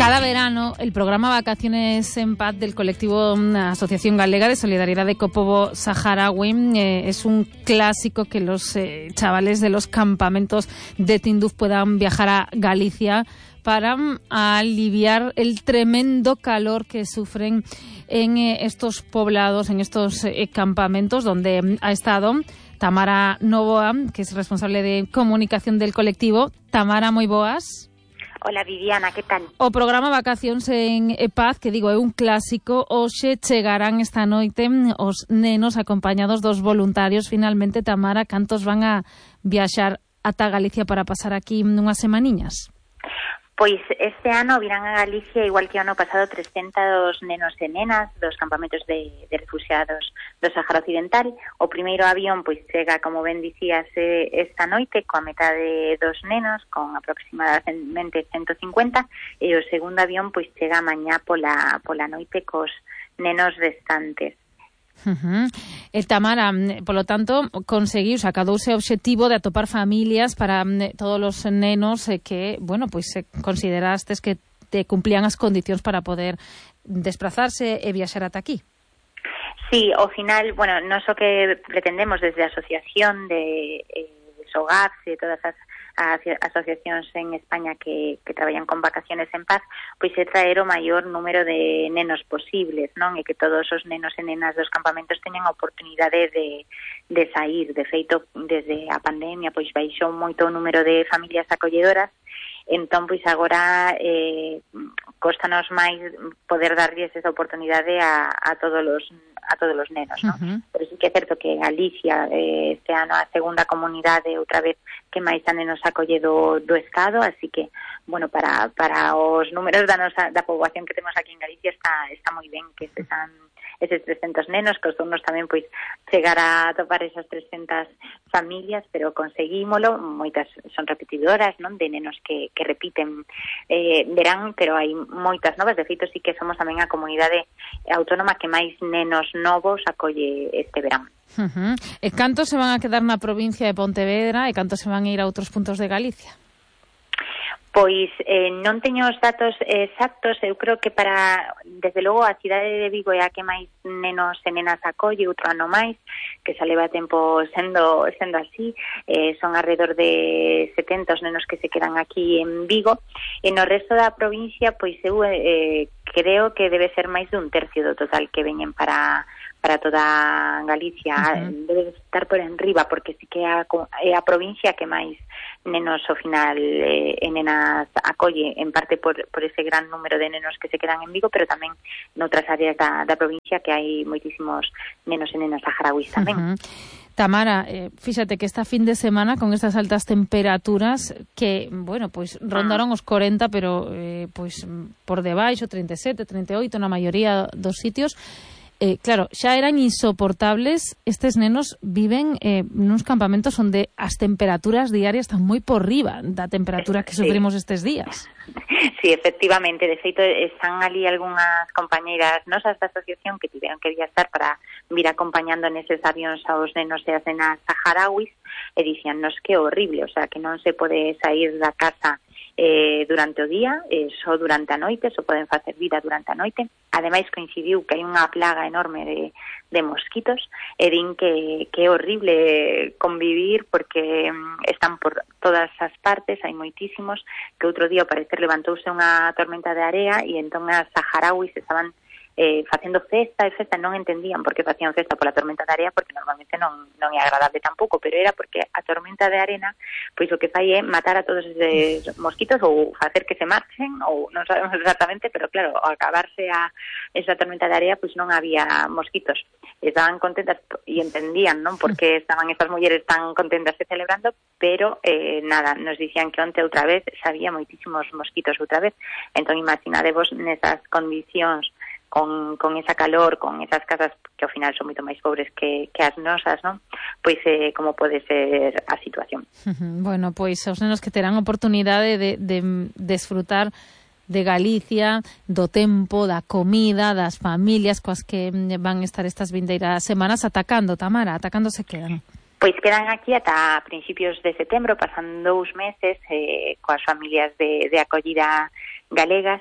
Cada verano, el programa Vacaciones en Paz del colectivo Asociación Galega de Solidaridad de Kosovo Saharaui es un clásico que los chavales de los campamentos de Tinduf puedan viajar a Galicia para aliviar el tremendo calor que sufren en estos poblados, en estos campamentos, donde ha estado Tamara Novoa, que es responsable de comunicación del colectivo. Tamara, moi boas. Hola Viviana, que tal? O programa Vacacións en Paz, que digo, é un clásico, hoxe chegarán esta noite os nenos acompañados dos voluntarios. Finalmente, Tamara, cantos van a viaxar ata Galicia para pasar aquí unhas semaniñas? Pois este ano virán a Galicia, igual que o ano pasado, 300 nenos e nenas dos campamentos de refugiados do Sahara Occidental. O primeiro avión pois chega, como ben dicías, esta noite coa metade dos nenos, con aproximadamente 150, e o segundo avión pois chega mañá pola noite cos nenos restantes. Tamara, polo tanto, conseguiu, sacadouse o obxectivo de atopar familias para todos os nenos que, bueno, pois considerastes que te cumplían as condicións para poder desplazarse e viaxar ata aquí. Sí, ao final, bueno, non só que pretendemos desde a Asociación de SOGAPS e todas as asociacións en España que traballan con Vacaciones en Paz, pois é traer o maior número de nenos posibles, non? E que todos os nenos e nenas dos campamentos teñan a oportunidade de sair. De feito, desde a pandemia, pois baixou moito o número de familias acolledoras. Entón, pois agora costanos máis poder darlles esa oportunidade a todos os nenos, non? Pero sí que é certo que Galicia este ano a segunda comunidade outra vez que máis a nenos acolle do Estado, así que, bueno, para os números da poboación que temos aquí en Galicia está moi ben que sean eses 300 nenos, costounos tamén pois chegar a topar esas 300 familias, pero conseguímolo. Moitas son repetidoras, non? De nenos que repiten verán, pero hai moitas novas. De feito, sí que somos tamén a comunidade autónoma que máis nenos novos acolle este verán. E cantos se van a quedar na provincia de Pontevedra e cantos se van a ir a outros puntos de Galicia? Pois non teño os datos exactos. Eu creo que desde logo, a cidade de Vigo é a que máis nenos e nenas acolle, outro ano máis, que xa leva tempo sendo así. Son alrededor de 70 os nenos que se quedan aquí en Vigo. E no resto da provincia, pois eu creo que debe ser máis dun tercio do total que veñen para toda Galicia. Debe estar por enriba, porque sí que é a provincia que máis nenos ao final e nenas acolle, en parte por ese gran número de nenos que se quedan en Vigo, pero tamén noutras áreas da provincia que hai moitísimos nenos e nenas saharauis tamén. Tamara, fíxate que esta fin de semana con estas altas temperaturas que, bueno, pois rondaron os 40, pero pois por debaixo 37, 38 na maioría dos sitios. Claro, xa eran insoportables. Estes nenos viven nuns campamentos onde as temperaturas diarias están moi por riba da temperatura que sufrimos estes días. Sí, efectivamente. De feito, están ali algunhas compañeiras nosas da asociación que tiveron que viaxar para vir acompañando neses avións aos nenos e as nenas saharauis e dicíannos que é horrible, o sea, que non se pode sair da casa durante o día, só durante a noite, só poden facer vida durante a noite. Ademais, coincidiu que hai unha plaga enorme de mosquitos e din que é horrible convivir porque están por todas as partes, hai moitísimos, que outro día ao parecer levantouse unha tormenta de area e entón as saharauis estaban facendo festa, non entendían por que facían festa pola tormenta de area, porque normalmente non é agradable tampouco, pero era porque a tormenta de arena pois o que fai é matar a todos esos mosquitos ou facer que se marchen, ou non sabemos exactamente, pero claro, ao acabarse esa tormenta de area pois non había mosquitos. Estaban contentas e entendían, non, porque estaban estas mulleres tan contentas e celebrando, pero nada, nos dicían que onte outra vez xa había moitísimos mosquitos outra vez. Entón imaginadevos nesas condicións con esa calor, con esas casas que ao final son moito máis pobres que as nosas, non? Pois como pode ser a situación. Bueno, pois os nenos que terán oportunidade de desfrutar de Galicia, do tempo, da comida, das familias coas que van estar estas vindeiras semanas atacando, Tamara, atacando se quedan. Pois quedan aquí ata principios de setembro, pasan 2 meses coas familias de acollida galegas.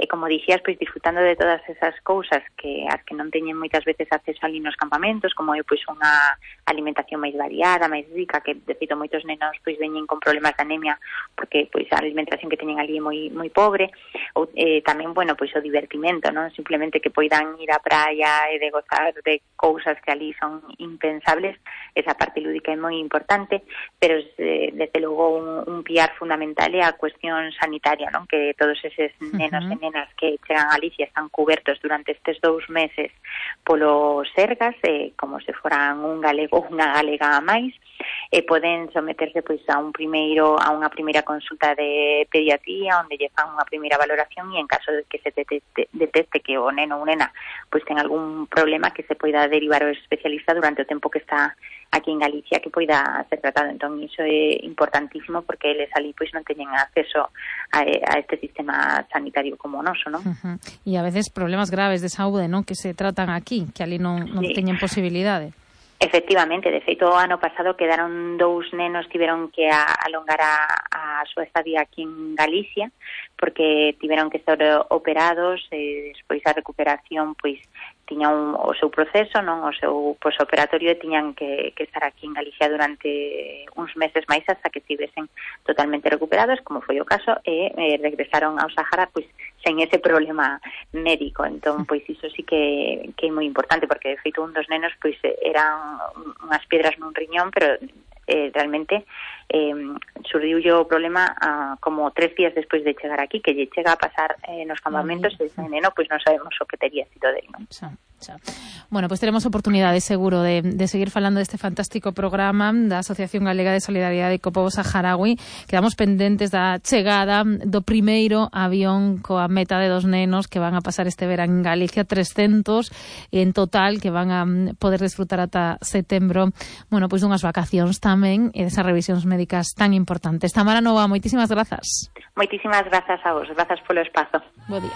como dixías, pois disfrutando de todas esas cousas que as que non teñen moitas veces acceso ali nos campamentos, como é pois unha alimentación máis variada, máis rica, que de feito moitos nenos pois veñen con problemas de anemia porque pois a alimentación que teñen ali é moi pobre, ou tamén, bueno, pois o divertimento, non? Simplemente que poidan ir á praia e de gozar de cousas que ali son impensables, esa parte lúdica é moi importante, pero desde logo un piar fundamental é a cuestión sanitaria, non? Que todos eses nenos e nenas que chegan a Galicia están cubertos durante estes 2 meses polo Sergas, como se foran un galego ou unha galega a máis, e poden someterse pois a unha primeira consulta de pediatría onde lle fan unha primeira valoración e en caso de que se detecte que o neno ou nena pois ten algún problema que se poida derivar ao especialista durante o tempo que está aquí en Galicia, que poida ser tratado. Entón, iso é importantísimo porque eles ali pois non teñen acceso a este sistema sanitario como o noso, non? E a veces problemas graves de saúde, non? Que se tratan aquí, que ali non teñen posibilidade. Efectivamente, de feito, o ano pasado quedaron 2 nenos, tiveron que alongar a súa estadía aquí en Galicia, porque tiveron que ser operados, e despois a recuperación, pois, tiña o seu proceso, non, o seu posoperatorio, e tiñan que estar aquí en Galicia durante uns meses máis hasta que estivesen totalmente recuperados, como foi o caso, e regresaron ao Sahara, pois, sen ese problema médico. Entón, pois, iso sí que é moi importante, porque, de feito, un dos nenos, pois, eran unhas piedras nun riñón, pero realmente surdiulle o problema como 3 días despois de chegar aquí, que lle chega a pasar nos campamentos, e ese neno, pois non sabemos o que tería sido dele, non? Bueno, pues teremos oportunidade seguro de seguir falando deste fantástico programa da Asociación Galega de Solidariedade co Pobo Saharaui. Quedamos pendentes da chegada do primeiro avión coa meta de 2 nenos que van a pasar este verán en Galicia, 300 en total, que van a poder disfrutar ata setembro, bueno, pois dunhas vacacións tamén e desas revisións médicas tan importantes. Tamara Nova, moitísimas grazas. Moitísimas grazas a vos, grazas polo espazo. Bo día.